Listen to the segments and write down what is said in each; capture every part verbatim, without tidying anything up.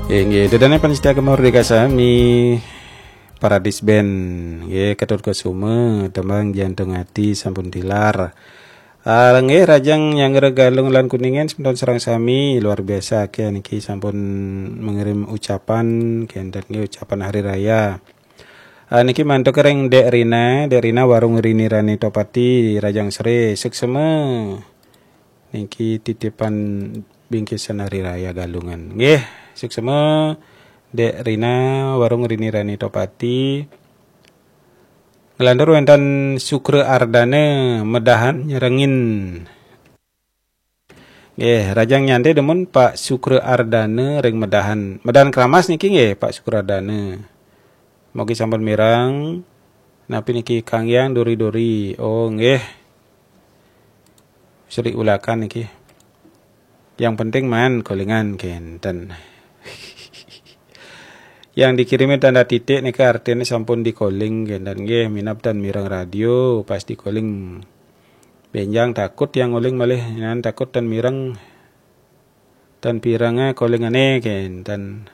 Inggih, dedane panitia Gema Merdeka sami, Paradis Band, nggih, Ketut Kesuma, tembang Jantung Hati sampun tilar. Ah, nggih, Rajang Nyanggra Galung lan Kuningan semeton sareng sami, luar biasa akeh niki sampun mengirim ucapan, kenten nggih, ucapan hari raya. Ah, niki mantuk ring Dek Rina, Dek Rina Warung Rini Rani Topati, Rajang Sri, suksma. Niki titipan bingkisan hari raya Galungan. Nggih, suksma Dek Rina Warung Rini Rani Topati. Nglantur wenten Sukra Ardana Medahan nyarengin. Nggih, Rajang Nyante demen Pak Sukra Ardana ring Medahan. Medahan Kramas niki nggih, Pak Sukra Ardana. Mugi sampun mireng. Napi niki Kang Yang Dori-dori? Oh, nggih. Sri ulakan niki. Yang penting man kolingan kenten. Yang dikirimi tanda titik niki artine sampun dikoling kenten nggih, minab tan mireng radio pas dikoling. Benjang takut yang ngoling malih, nan takut tan mireng, tan pirenge kolingane kenten.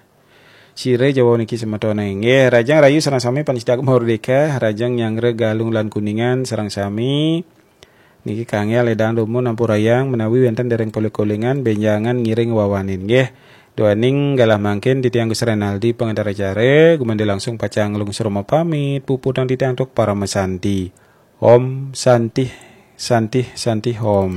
Sire Jawa niki semetone. Nggih, Rajang Rayu sareng sami panitia Merdeka, Rajang Nyanggra Galung lan Kuningan sareng sami. Niki kangge ledang dumun ampurayang menawi wenten dereng polih kolingan benjangan ngiring wawanin nggih. Duaning galah mangkin titiang Gus Renaldi pengantar acara, gumanti langsung pacang nglungsur pamit, puputang titiang antuk parama santi. Om Santih, Santih, Santih Om.